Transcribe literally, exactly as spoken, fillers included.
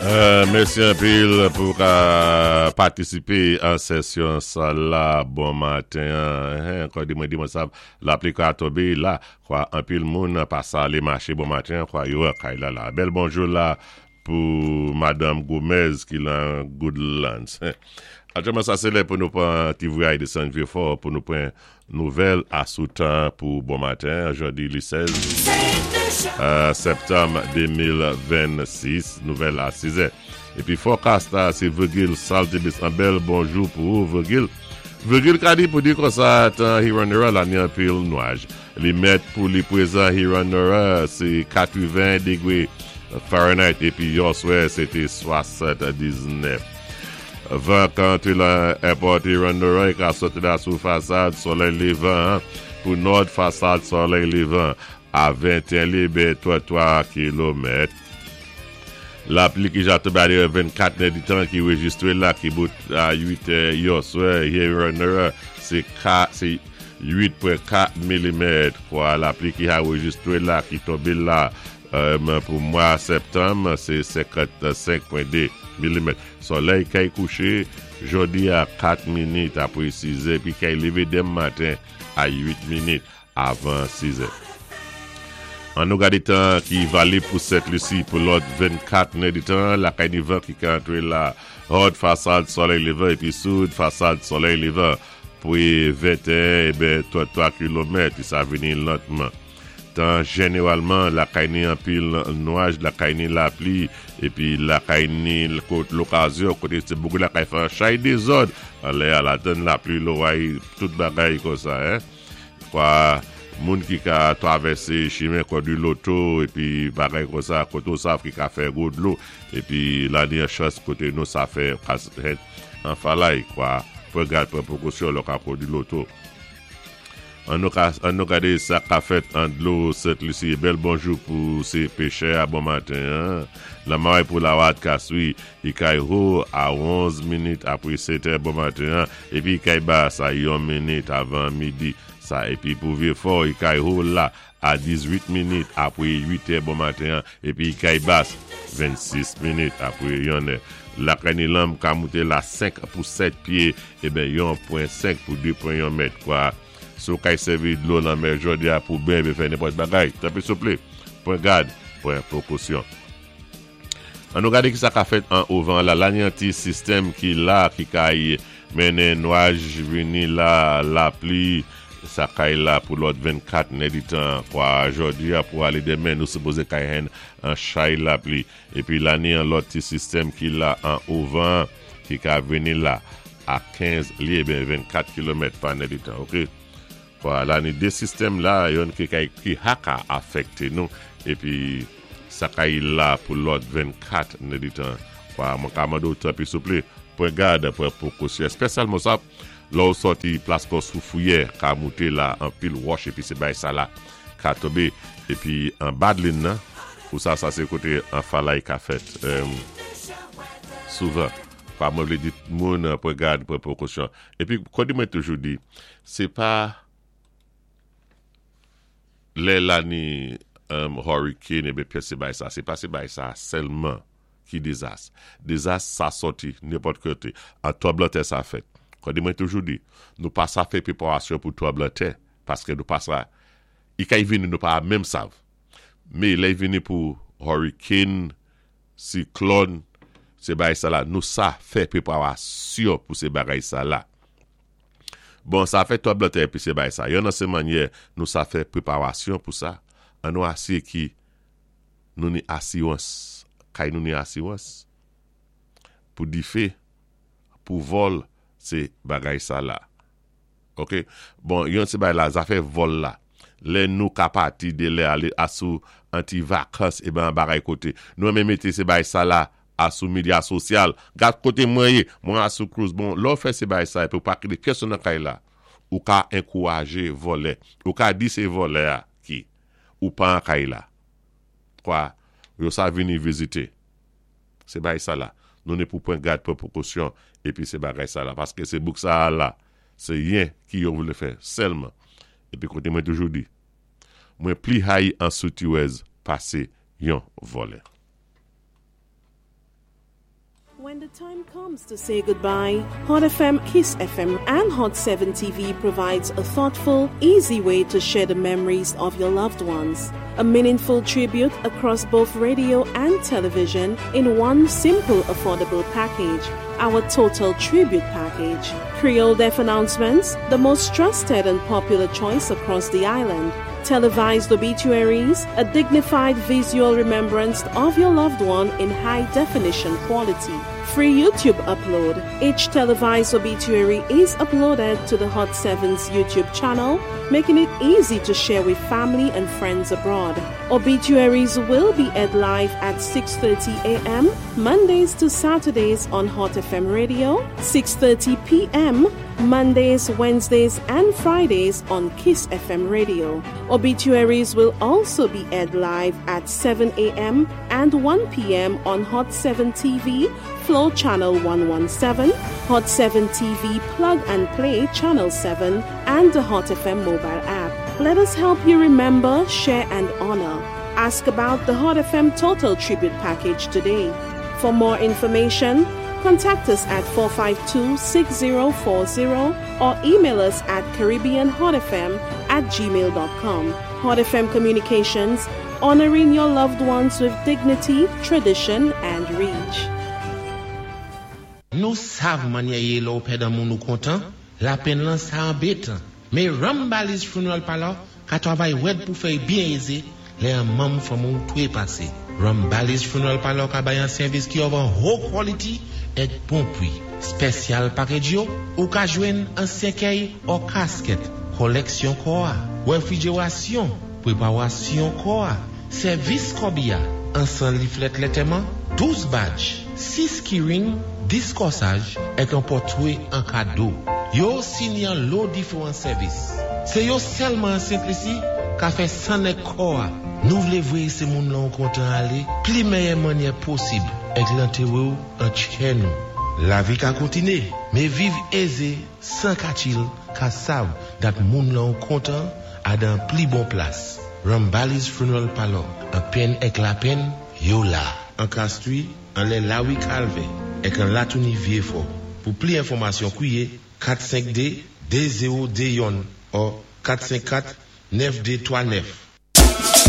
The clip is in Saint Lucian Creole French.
Euh, mèsi anpil pou ka patisipé an sesyon sa la bon maten. Hein, ankò di mwen di mwen sa lapli ka tonbé la kwa anpil moun pa sa alé maché bon maten kwa yo kay la la. Bèl bonjou la pou Madam Gomez ki lan Goodlands. Aktyèlman sa sé lè pou nou pran ti vwayaj désann Vieux-Fort pou nou pran nouvèl asou tan pou bon maten, jodi li sèz euh, septanm de mil vennsis, nouvèl a sis è. Épi forecast la, sé Virgil Saltibus. An bèl bonjou pou ou, Virgil. Virgil ka di pou di konsa, tan Huron la ni anpil nwaj. Li mèt pou li pwézan Huron, sé katreven dégwé Fahrenheit épi yèswa sé té swasanndisnèf. Van ka antré lan airport Huron ka sòti la sou fasad solèy lévan pou nò fasad solèy lévan a venteyen li trantwa kilomèt. Lapli ki ja tonbé a vennkat èditan ki rejistwé la ki bout a uit è yèswa Huron sé uit pwen kat milimèt kwa lapli ki a rejistwé la ki tonbé la euh, pou mwa septanm sé senkannsenk pwen dé milimèt. Solèy kay kouché jodi a kat minit apwé sis è pi kay lévé denmen maten a uit minit avan sis è. An nou gadé tan ki valib pou Sent Lisi pou lòt vennkat èditan, lakay ni van ki ka antré la nò fasad solèy lévan épi sid fasad solèy lévan pou venteyen ébyen trantwa kilomèt, sa vini lantman. Tan jénéwalman lakay ni anpil nwaj, lakay ni lapli épi lakay ni lokazyon koté sé boukou lakay fè an chay dézòd anlè a la donn lapli loway tout bagay konsa hein. Kwa moun ki ka travèsé chimen kondwi loto épi bagay konsa koté ou sav ki ka fè gwo dlo épi la ni an chans koté nou sa fè an falay kwa pran gad pran pwékosyon lò ka kondwi loto. An nou ka, an nou gadé sa ka fèt an dlo Sent Lisi. Bèl bonjou pou sé péchè a bon maten. Hein? La pou la wat ka swi, i kay ho a onz minit apwé sèt è bon maten. Hein? Épi kay ba sa yon minit avan midi. Sa épi pou Vieux-Fort, i kay ho la a dizuit minit apwé uit è bon maten. Hein? Épi kay bas vennsis minit apwé yon è. Lakay ni lanm ka mouté la senk pou sèt pyé, ébyen yon pwen senk pou de pwen yon mèt kwa. Sou kay sèvi dlo lanmè jodi a pou ben fè nenpòt bagay. Tanpwi souplé, pran gad, pran pwékosyon. An nou gadé ki sa ka fèt an ouvan la, la ni an ti sistèm ki la, ki kay mennen nwaj vini la, lapli, sa kay la pou lòt vennkat èditan, kwa jodi a pou alé denmen, nou sipozé kay hen an chay lapli. Épi la ni an lòt ti sistèm ki la an ouvan, ki ka vini la a kenz li ébyen vennkat kilomèt pa èditan, ok? Kwa la ni dé sistèm la, yon ki kay ki ha ka afèkté nou, épi sa kay la pou lòt vennkat èditan. Kwa mwen ka mando tanpwi souplé, pran gad, pran pwékosyon. Espésyalman sa, lò ou sòti plas kon sou fouyè, ka mouté la an pil wòch, épi sé bay sa la, ka tonbé, épi an badlin nan, ou sa sa sé koté an falay ka fèt. Euh, souvan, kwa mwen vlé di moun pran gad, pran pwékosyon. Épi, kon di mwen toujou di, sé pa lè la ni um, hurricane ébyen pyès sé bay sa, sé pa sé bay sa sèlman ki dézas. Dézas sa sòti nenpòt koté. An tranblan tè sa fèt. Kon di mwen toujou di, nou pa sa fè pwéparasyon pou tranblan tè, paské nou pa sa, i kay vini nou pa menm sav. Mé lè vini pou hurricane, siklòn, sé bay sa la, nou sa fè pwéparasyon pou sé bagay sa la. Bon, sa fè tranblan tè épi sé bay sa. Yon nan sé mannyè nou sa fè pwéparasyon pou sa, an nou asiré ki nou ni asiwans, kay nou ni asiwans, pou difé, pou vòl, sé bagay sa la. Ok? Bon, yon sé bay la, zafè vòl la. Lè nou ka pati de lè alé asou an ti vakans e ben bagay koté. Nou renmen mété sé bay sa la asou medya sosyal. Gad koté mwen yé, mwen asou cruise. Bon, lò fè sé bay sa, épi ou pa kité pèsonn nan kay la. Ou ka ankourajé vòlè. Ou ka di sé vòlè a ki. Ou pa an kay la. Kwa, yo sa vini vizité. Sé bay sa la. Nou ni pou pran gad pou pwékosyon, épi sé bagay sa la. Paské sé bouk sa la, sé yen ki yo vlé fè, sèlman. Épi koté mwen toujou di, mwen pli hayi an soutiwèz pasé yon vòlè. When the time comes to say goodbye, Hot F M, Kiss F M, and Hot seven T V provides a thoughtful, easy way to share the memories of your loved ones. A meaningful tribute across both radio and television in one simple, affordable package. Our Total Tribute Package. Creole Death Announcements, the most trusted and popular choice across the island. Televised obituaries, a dignified visual remembrance of your loved one in high definition quality. Free YouTube upload. Each televised obituary is uploaded to the Hot seven's YouTube channel, making it easy to share with family and friends abroad. Obituaries will be aired live at six thirty a m. Mondays to Saturdays on Hot F M Radio, six thirty p m. Mondays, Wednesdays, and Fridays on Kiss F M Radio. Obituaries will also be aired live at seven a m and one p m on Hot seven T V, Flow Channel one one seven, Hot seven T V Plug and Play Channel seven, and the Hot F M mobile app. Let us help you remember, share, and honor. Ask about the Hot F M Total Tribute Package today. For more information, contact us at four five two, six zero four zero or email us at caribbeanhotfm at gmail dot com. Hot F M Communications, honoring your loved ones with dignity, tradition, and reach. Nou sav mannyè yé lè ou pèd an moun ou kontan, lapenn lan sa anbétan. Mé Rambali's Funeral Parlor ka twavay wèd pou fè byen ézé lè an manm fanmi ou twé pasé. Rambali's Funeral Parlor ka bay an sèvis ki of an ho quality èk bon pwi. Special package yo, ou ka jwenn an sèkèy ou kasket, koleksyon kò a, wèfrijerasyon, pwéparasyon kò a, sèvis kòbiya, an san leaflet lantèman, douz badge, sis keyring, dis kòsaj, èk an pòtwé an kado. Yo sini an lo diféwan sèvis. Sé yo sèlman an Sent Lisi ka fè sann èk kò a. Nou vlé vwé sé moun lan ou kontan alé, pli méyè mannyè posib, èk lantéwé ou an tchè nou. Lavi ka kontiné, mé viv ézé, san ka chill, ka sav dat moun lan ou kontan a dan pli bon plas. Rambali's Funeral Parlor, an penn èk lapenn, yo la. An Castries, anlè Lawi Calvè, èk an Latouni Vyéfò. Pou pli enfòmasyon kwiyé kat senk de, de zewo de youn ou kat senk kat, nèf de twa nèf.